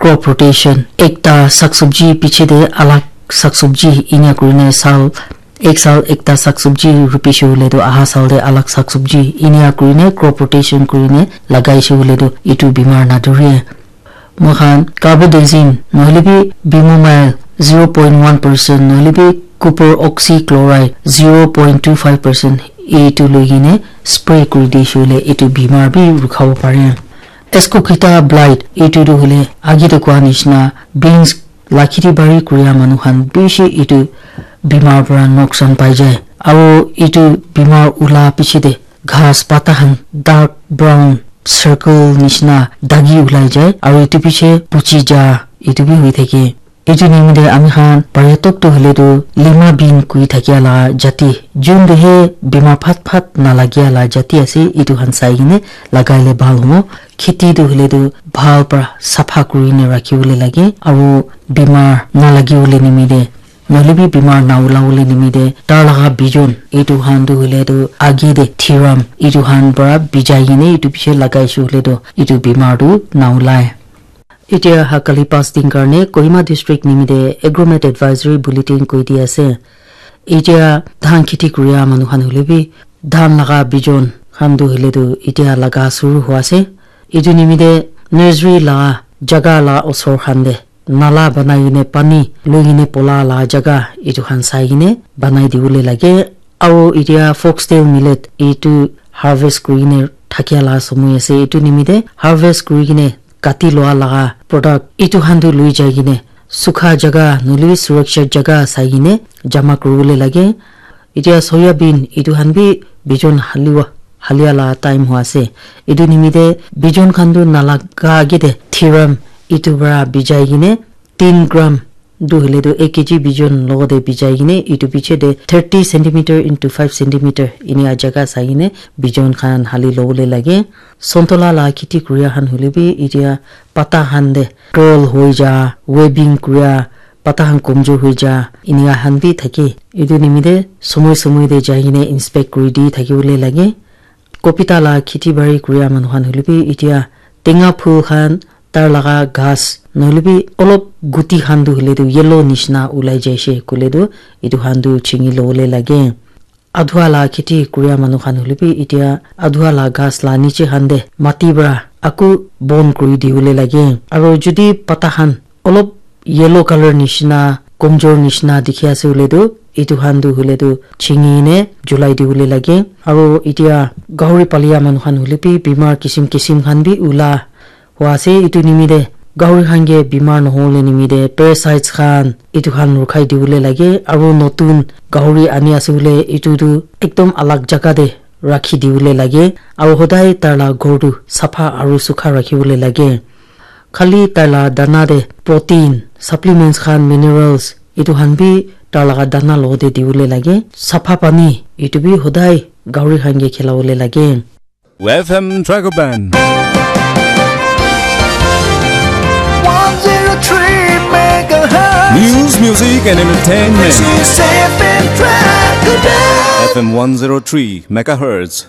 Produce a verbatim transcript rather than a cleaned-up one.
Crop rotation, ekta saksubji piche te alag saksubji inia kurine sal, ek sal ekta saksubji rupishe hoile tu aha sal te alag saksubji inia kurine crop rotation kurine lagaishe hoile tu etu bimar nadure. Moikhan carbendazim nohole bi bimomyl zero point one percent nohole bi copper oxychloride zero point two five percent etu loi kene spray kuri dishe hoile etu bimar bi rukhabo pare. Ascochyta blight etu tu hoile age te koa nishina beans la kheti bari kuria manu khan bishi etu bimar para noksan pai jai. Aro etu bimar ula piche te ghas pata khan dark brown circle nishina dagi ulai jai, aro etu piche puchi ja etu bi hoi thake. Etu nimite ami khan pare tok tu hoile tu lima bean kui thakia la jati, jun tu he bimar phat phat nalagia la jati ase, etu khan sai kene lagai le bhal hobo. Kheti tu hoile tu bhal para sapha kuri ne rakhi bole lage, aro bimar nalagi bole nimite, nohole bi bimar na ula bole nimite, tar laga bijon etu khan tu hoile tu age te thiram etu khan para bijai kene etu piche lagaishe hoile tu etu bimar tu na ulai. Etia ha kali pass din karne Kohima district nimite Agromet Advisory Bulletin koi di ase. Etia dhan kheti kuria manu khan hoile bi dhan laga bijon khan tu hoile tu etia laga suru hua ase. Etu nimite nursery la jaga la osor khan te nala banai kene pani loi kene pola la jaga etu khan sai kene banai dibole lage. Aro etia foxtail millet etu harvest kuri kene thakia la somoi ase. Etu nimite harvest kuri kene kati lua laga product etu khan tu lui jai kene sukha jaga nohole bi surakshit jaga sai kene jama kuri bole lage. Etia soya bean etu khan bi bijon haliwa halia la time hua ase. Etu nimite bijon khan tu nalaga age te thiram etu para bijai kene tin gram tu hoile tu ek K G bijon logote bijai kene etu piche te thirty centimeter into five centimeter inia jaga sai kene bijon khan hali lobole lage. Sontola la kheti kuria khan hoile bi etia pata khan te curl hoi ja, webbing kuria, pata khan komjor hoi ja, inia khan bi thake. Etu nimite somoi somoi te jai kene inspect kuri di thaki bole lage. Kopita la kheti bari kuria manu khan hoile bi etia tenga phul khan tar laga ghas nohole bi olop guti khan tu hoile tu yellow nishina ulai jaishe koile tu etu khan tu chingi lobole lage. Adua la kheti kuria manu khan hoile bi etia adua la ghas la niche khan te mati para aku bon kuri dibole lage. Aro jodi pata khan olop yellow color nishina, komjor nishina dikhi ase hoile tu etu khan tu hoile tu chingi ne julai dibole lage. Aro etia gahori palia manu khan hoile bi bimar kisim kisim khan bi ula hua ase. Etu nimite gahori khan ke bimar nohole nimite parasites khan etu khan rukhai dibole lage. Aro notun gahori ani ase hoile etu tu ekdom alag jaga te rakhi dibole lage. Aro hodai tar la ghor tu sapha aro sukha rakhi bole lage. Khali tar la dana te protein, supplements khan, minerals etu khan bi tar laga dana logote dibole lage. Sapha pani etu bi hodai gahori khan ke khilabole lage. F M Dragon Band. One zero three megahertz. News, music, and entertainment. This is F M Dragon Band. F M one zero three megahertz.